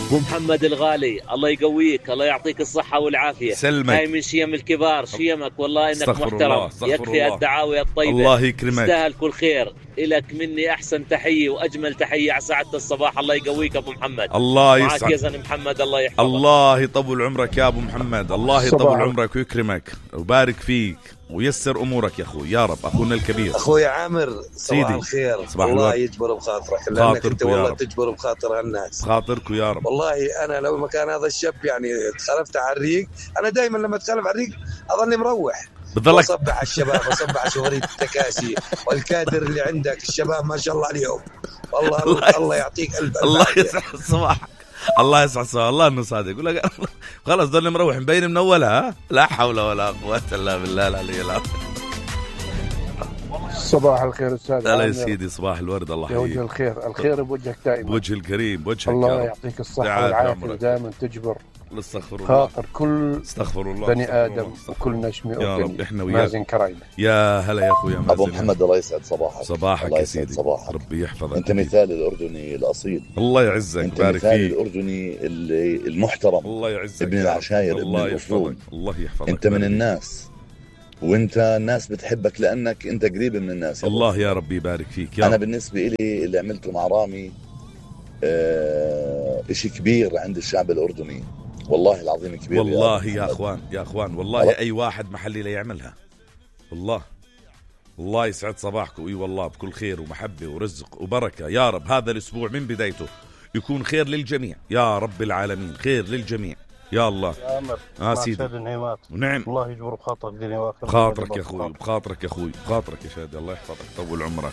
ابو محمد الغالي، الله يقويك، الله يعطيك الصحة والعافية. سلمك. هاي من شيم الكبار، شيمك والله انك محترم. يكفي الله. الدعاوي الطيبة. الله يكرمك. تستاهل كل خير. إلك مني احسن تحية واجمل تحية على ساعة الصباح. الله يقويك ابو محمد. الله معك يسعد. يا زلمة محمد، الله يحفظك. الله يطول عمرك يا ابو محمد، الله يطول عمرك ويكرمك ويبارك فيك ويسر امورك يا اخوي يا رب. اخونا الكبير اخوي عامر، صباح الخير. صباح الله الوقت. يجبر بخاطرك، لانك انت والله تجبر بخاطر الناس. بخاطركم يا رب. والله انا لو مكان هذا الشاب يعني تخلفت على الريق، انا دائما لما اتخلف على الريق اظني مروح. بضلك بصبح على الشباب، بصبح على شغلية التكاسي والكادر اللي عندك. الشباب ما شاء الله عليهم والله. الله يعطيك قلب. الله يسعد صباحك. الله يسعد صباحك. الله انه صادق. يقول لك خلاص ضلني مروح مبين من اولها. لا حول ولا قوة الا بالله العلي العظيم. صباح الخير استاذ. لا يا سيدي صباح الورد. الله يحييك. يا وجه الخير، الخير بوجهك دائما. بوجه الكريم بوجهك. الله يعطيك الصحة والعافية ودائما تجبر استغفر الله. خاطر كل استغفر الله بني آدم وكل نشمي يا رب. احنا وياك. مازن كرايمة. يا هلا يا اخويا مازن. ابو محمد الله يسعد صباحك. صباحك يا سيدي. صباحك. ربي يحفظك. انت مثال الاردني الاصيل. الله يعزك. انت بارك مثال فيك. الاردني المحترم. الله يعزك. ابن العشاير. الله ابن الاصول. يحفظك. الله يحفظك. انت من الناس، وانت الناس بتحبك لانك انت قريب من الناس. الله يا ربي يبارك فيك يا انا رب. بالنسبه لي اللي عملته مع رامي اشي كبير عند الشعب الاردني، والله العظيم كبير. والله يا اخوان يا اخوان والله اي واحد محلي لا يعملها. والله الله يسعد صباحكم. اي والله بكل خير ومحبه ورزق وبركه يا رب. هذا الاسبوع من بدايته يكون خير للجميع يا رب العالمين. خير للجميع يا الله. يا عمر سيدي. ونعم. الله يجبر بخاطرك دنيا واخره. بخاطرك يا اخوي، بخاطرك يا اخوي، بخاطرك يا شادي. الله يحفظك طول عمرك.